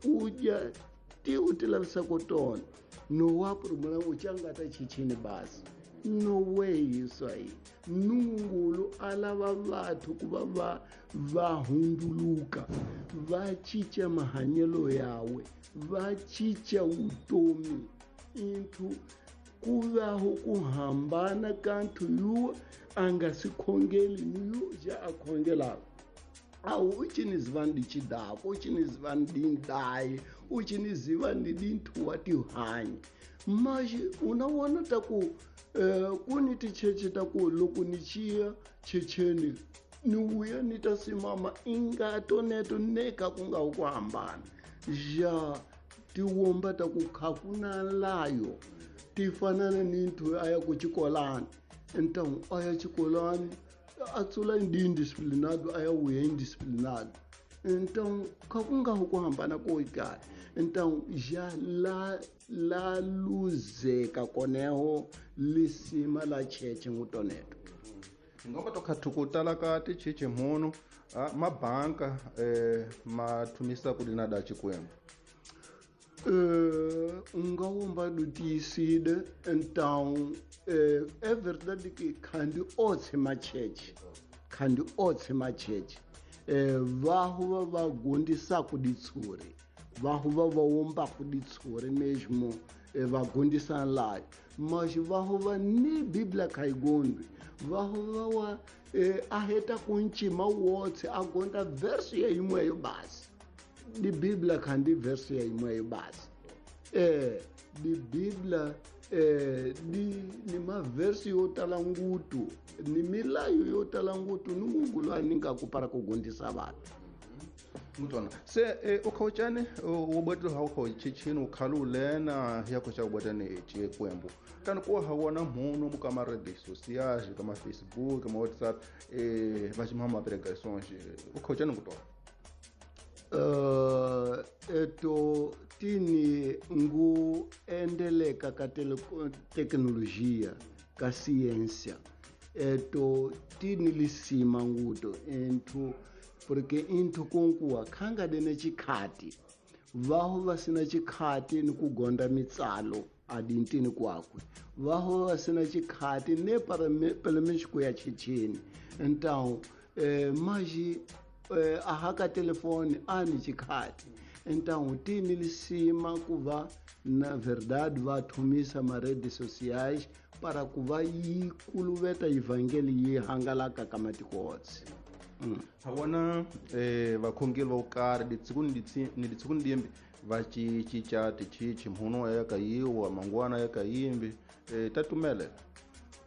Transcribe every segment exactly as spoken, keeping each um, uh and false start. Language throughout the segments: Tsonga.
U dya ti u ti lavisaka tona no wa promela u changata chichini basi no way swai Nungulu a lava vathu ku va va va hunduluka va cinca mahanyelo yawe va cinca vutomi into ku vaho ku hambana ka nthu yu a nga si khongeli ni yu ja a khongelaka awu uchiniziva ndi chidako uchiniziva ndi ndayi uchiniziva ndi dinthu wa tihanyi mas unawona ta ku eh, ku ni ticheche ta ku loko ni chiya checheni ni vuya ni ta simama ingato neto ne ka ku nga ku hambana ja tiwomba ta ku kha ku na layo ti fanana ni nthu a ya ku xikolani então a ya xikolani a tsula ndi indisciplinado a ya vuya indisciplinado então kha ku nga ku hambana ko kaya então já la la luzeka koneho lisima la cheche ngutoneto ngomba to khathu ku tala ka ticheche mhono mabanka eh ma thumisa ku dina da Xikwembu eh nga womba do tiyisile então eh é verdade que khandi otse macheche khandi otse macheche eh vahu va va gondisaku ditshuri vahu va va wombaku ditshuri mesmo va gondisa layo mas vahu va ni biblia khayigondwi vahu va wa eh, a heta ku ncima wotse a gonda verso ya yimweyo basi di biblia khandi verso ya yimweyo basi eh di biblia eh di ni maversi yo tala ngutu ni milayo yo tala ngutu ni Mungu a ninga ku para ku gondisa vanhu mutwana se eh, ukhauchane wo bwetlo ha ukho chichini ukhalulena ya ko cha bwetane Xikwembu tani ku ha wona mhuno muka ma redes sociais ka ma Facebook ma WhatsApp eh va chimama pregações ukhauchane kutona uh eto tini ngu endeleka ka teknolojia ka ciência eto tini lisima nguto enthu porque inthu kunkuwa khanga dene chikhati vaho vasina chikhati ni kugonda mitsalo adintini kwakwe vaho vasina chikhati ne para pelo menos ku ya chichini então eh, maji eh, ahaka telefone ani chikhati então tini lisima kuva na verdade va thumisa ma redes sociais para kuva yi kuluveta evangeli yi hangalaka ka matiko otse mm. Ha vona eh vakhongeli vo karhi ditsiku ni ni ditsiku ni dimbi va cinca tichichi mhuno ya ka yiwa mangwana ya ka yimbi eh ta tumelela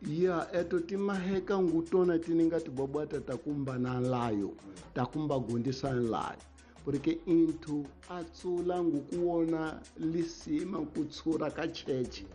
ya eto timaheka ngutona tininga tibobwata takumba na layo takumba gondisa layo porque inthu a tsula ngukuwona lisima kutshura ka cheche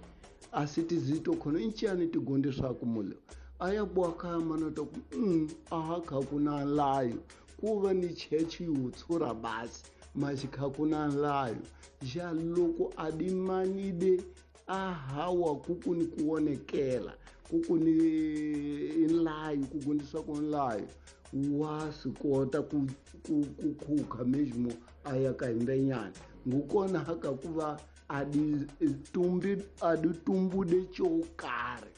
asitizito khona inchani tigondiswa kumule aya bwaka mana to mm aha kha kuna layo kuva ni cheche yutshura basi mas kha kuna layo ja loko adimanide ahawa kuku ni kuonekela kuku ni layo kugondiswa ku layo wa swi kota ku ku ku khukha mesmo a ya ka himbenyana ngukona haka kuva adi tumbi adi tumbude cho karhi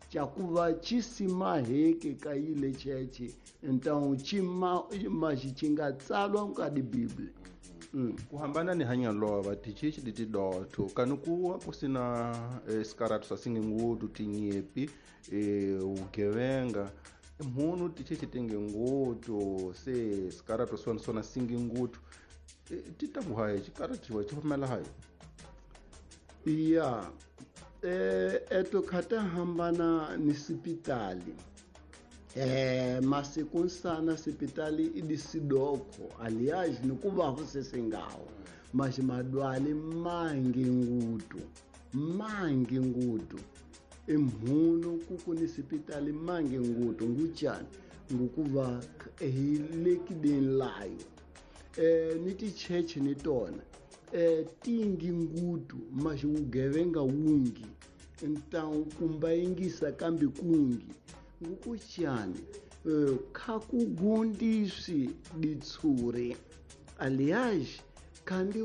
cha kuva chisimaheke ka yile cheche então chima maxi xi nga tsalwa ka di Biblia mm. Ku hambana ni hanya lova tichichi di tidotho kani kuwa ku sina eh, sikaratu swa singingutu tinyepi eh, vugevenga mhunu tichichi tinge ngutu se sikaratu swona swona singingutu ti ta ku hayi xikaratu xi pfumela hayi ya eh eto khata hambana ni sipitali eh masiku nsana sipitali idisidoko aliás nikuva husesengawo mas madwale mangi ngutu mangi ngutu emhuno kuku ni sipitali mangi ngutu nguchani ngukuva ehilekideni layo eh ni ticheche ni tona eh tingi ngutu mas ugevenga wungi então kumbayingisa kambi kungi ngukuchani eh, khakugundisi ditsure aliás kandi